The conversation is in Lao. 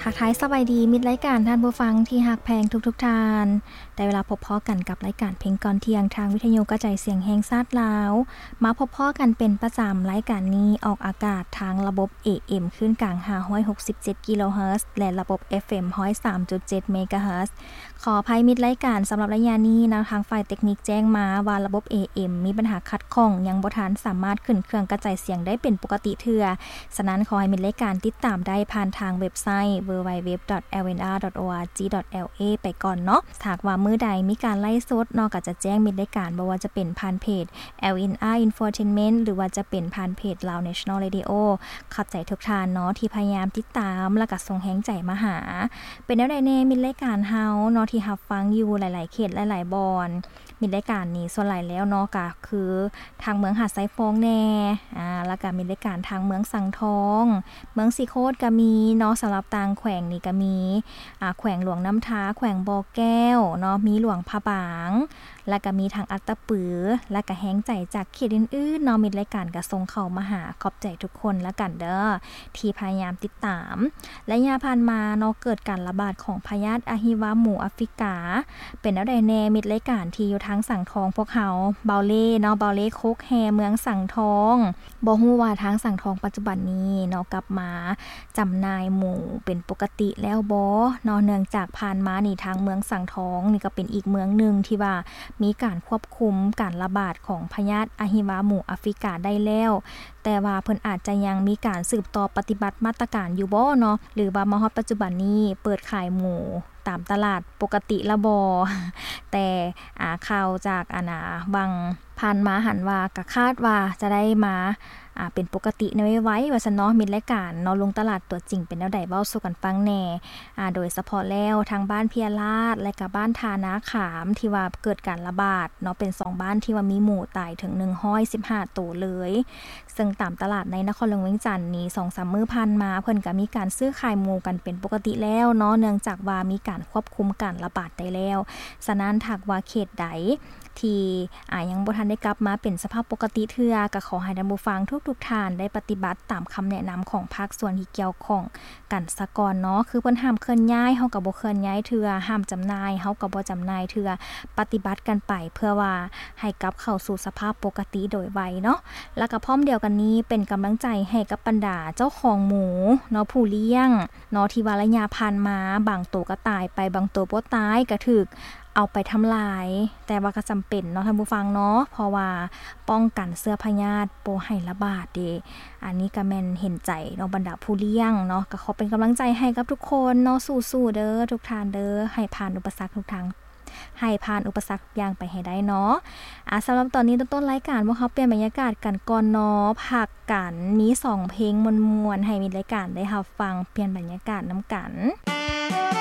ທັກທາຍສະບາຍດີມິດລາຍການທ່ານຜູ້ຟັງທີ່ຮັກແພງທຸກໆທ່ານ. ໄດ້ເວລາພົບພໍ້ກັນກັບລາຍການເພງກ່ອນທ່ຽງ ທາງວິທະຍຸກະຈາຍສຽງແຫ່ງຊາດລາວ. ມາພົບພໍ້ກັນເປັນປະຈຳ, ລາຍການນີ້ອອກອາກາດທາງລະບົບ ເອເອັມ ຄື້ນກາງ ຫ້າຮ້ອຍຫົກສິບເຈັດ ກິໂລເຮີດ ແລະ ລະບົບ ເອັບເອັມ ຮ້ອຍສາມຈຸດເຈັດ ເມກາເຮີດ. ຂໍອະໄພມິດລາຍການສຳລັບໄລຍະນີ້ນະ, ທາງຝ່າຍເຕັກນິກແຈ້ງມາວ່າລະບົບ ເອເອັມ ມີບັນຫາຂັດຂ້ອງ, ຍັງບໍ່ທັນສາມາດຂຶ້ນເຄື່ອງກະຈາຍສຽງໄດ້ເປັນປົກກະຕິເທື່ອ. ສະນັ້ນ ຂໍໃຫ້ມິດລາຍການຕິດຕາມໄດ້ຜ່ານທາງເວັບໄຊ www.lnr.org.la ໄປກ່ອນເນາະ. ຖ້າຫາກວ່າມື້ໃດມີການໄລຟ໌ສົດເນາະ, ກໍຈະແຈ້ງມິດລາຍການ, ບໍ່ວ່າຈະເປັນຜ່ານເພຈ LNR Infotainment ຫຼືວ່າຈະເປັນຜ່ານເພຈ Lao National Radio. ຂອບໃຈທຸກທ່ານເນາະ ທີ່ພະຍາຍາມຕິດຕາມ ແລະ ກໍສົ່ງແຮງໃຈມາຫາ. ເປັນແນວໃດແດ່ມິດລາຍການເຮົາເນາະ ທີ່ຮັບຟັງຢູ່ຫຼາຍໆເຂດຫຼາຍໆບ່ອນ? ມິດລາຍການນີ້ສ່ວນຫຼາຍແລ້ວເນາະ ກໍຄືທາງເມືອງຫາດຊາຍຟອງແດ່ ອາ ແລ້ວກໍມິດລາຍການທາງເມືອງສັງທອງ, ເມືອງສີໂຄດກໍມີເນາະ, ສຳລັບຕ່າງແຂວງນີ້ກໍມີ ອາ ແຂວງຫຼວງນ້ຳທາ, ແຂວງບໍ່ແກ້ວເນາະ, ມີຫຼວງພະບາງ ແລ້ວກໍມີທາງອັດຕະປື ແລ້ວກໍແຮງໃຈຈາກເຂດອື່ນໆເນາະ, ມິດລາຍການກໍສົ່ງເຂົ້າມາຫາ. ຂອບໃຈທຸກຄົນລະກັນເດີ ທີ່ພະຍາຍາມຕິດຕາມ. ໄລຍະຜ່ານມາເນາະ ເກີດການລະບາດຂອງພະຍາດອະຫິວາໝູອາຟຣິກາ. ເປັນແນວໃດແດ່ມິດລາຍການທີ່ຢູ່ທາງສັງທອງພວກເຮົາ? ເບົາເລ່ເນາະ, ເບົາເລ່ໂຄກແຮ່ ເມືອງສັງທອງ. ບໍ່ຮູ້ວ່າທາງສັງທອງປັດຈຸບັນນີ້ເນາະ ກັບມາຈຳໜ່າຍໝູເປັນປົກກະຕິແລ້ວບໍ່ເນາະ? ເນື່ອງຈາກຜ່ານມານີ້ ທາງເມືອງສັງທອງນີ້ກໍເປັນອີກເມືອງໜຶ່ງທີ່ວ່າມີການຄວບຄຸມການລະບາດຂອງພະຍາດອະຫິວາໝູອາຟຣິກາໄດ້ແລ້ວ, ແຕ່ວ່າເພິ່ນອາດຈະຍັງມີການສືບຕໍ່ປະຕິບັດມາດຕະການຢູ່ບໍ່ເນາະ ຫຼືວ່າມາຮອດປັດຈຸບັນນີ້ເປີດຂາຍໝູຕາມຕະຫຼາດປົກກະຕິແລ້ວບໍ່? ແຕ່ ອາ ຂ່າວຈາກ ອັນ ອາ ຫວ່າງຜ່ານມາຫັ້ນວ່າ ກະຄາດວ່າຈະໄດ້ມາ ອາ ເປັນປົກກະຕິໃນໄວໆ ວ່າຊັ້ນເນາະ. ມິດລາຍການເນາະ ລົງຕະຫຼາດຕົວຈິງເປັນແນວໃດ ເວົ້າສູ່ກັນຟັງແດ່. ອາ ໂດຍສະເພາະແລ້ວທາງບ້ານເພຍລາດ ແລະ ກະບ້ານທ່ານາຂາມ ທີ່ວ່າເກີດການລະບາດເນາະ ເປັນສອງບ້ານທີ່ວ່າມີໝູຕາຍເຖິງໜຶ່ງຮ້ອຍສິບຫ້າໂຕເລີຍ. ເຊິ່ງຕາມຕະຫຼາດໃນນະຄອນຫຼວງວຽງຈັນນີ້ ສອງສາມມື້ຜ່ານມາ ເພິ່ນກະມີການຊື້ຂາຍໝູກັນເປັນປົກກະຕິແລ້ວເນາະ ເນື່ອງຈາກວ່າມີການຄວບຄຸມການລະບາດໄດ້ແລ້ວ. ສະນັ້ນ ຖ້າຫາກວ່າເຂດໃດທີ່ ອາ ຍັງບໍ່ທັນໄດ້ກັບມາເປັນສະພາບປົກກະຕິເທື່ອ ກະຂໍໃຫ້ທ່ານຜູ້ຟັງທຸກໆທ່ານໄດ້ປະຕິບັດຕາມຄຳແນະນຳຂອງພາກສ່ວນທີ່ກ່ຽວຂ້ອງກັນສາກ່ອນເນາະ. ຄືເພິ່ນຫ້າມເຄື່ອນຍ້າຍ ເຮົາກະບໍ່ເຄື່ອນຍ້າຍເທື່ອ, ຫ້າມຈຳໜ່າຍ ເຮົາກະບໍ່ຈຳໜ່າຍເທື່ອ, ປະຕິບັດກັນໄປ ເພື່ອວ່າ ໃຫ້ກັບເຂົ້າສູ່ສະພາບປົກກະຕິໂດຍໄວເນາະ. ແລ້ວກໍພ້ອມດຽວກັນນີ້ ເປັນກຳລັງໃຈໃຫ້ກັບບັນດາເຈົ້າຂອງໝູເນາະ ຜູ້ລ້ຽງເນາະ ທີ່ວ່າໄລຍະຜ່ານມາ ບາງໂຕກໍຕາຍໄປ, ບາງໂຕບໍ່ຕາຍ ກໍຖືກເອົາໄປທຳລາຍ. ແຕ່ວ່າກໍຈຳເປັນເນາະທ່ານຜູ້ຟັງເນາະ ເພາະວ່າປ້ອງກັນເຊື້ອພະຍາດບໍ່ໃຫ້ລະບາດເດ້. ອັນນີ້ກໍແມ່ນເຫັນໃຈເນາະ ບັນດາຜູ້ລ້ຽງເນາະ. ກໍຂໍເປັນກຳລັງໃຈໃຫ້ກັບທຸກຄົນເນາະ, ສູ້ໆເດີທຸກທ່ານເດີ, ໃຫ້ຜ່ານອຸປະສັກທຸກທາງ ໃຫ້ຜ່ານອຸປະສັກທຸກຢ່າງໄປໃຫ້ໄດ້ເນາະ. ອາ ສຳລັບຕອນນີ້ ຕົ້ນໆລາຍການ ພວກເຮົາປ່ຽນບັນຍາກາດກັນກ່ອນເນາະ, ພັກກັນ ມີສອງເພງມ່ວນໆ ໃຫ້ມິດລາຍການໄດ້ຮັບຟັງ, ປ່ຽນບັນຍາກາດນຳກັນ.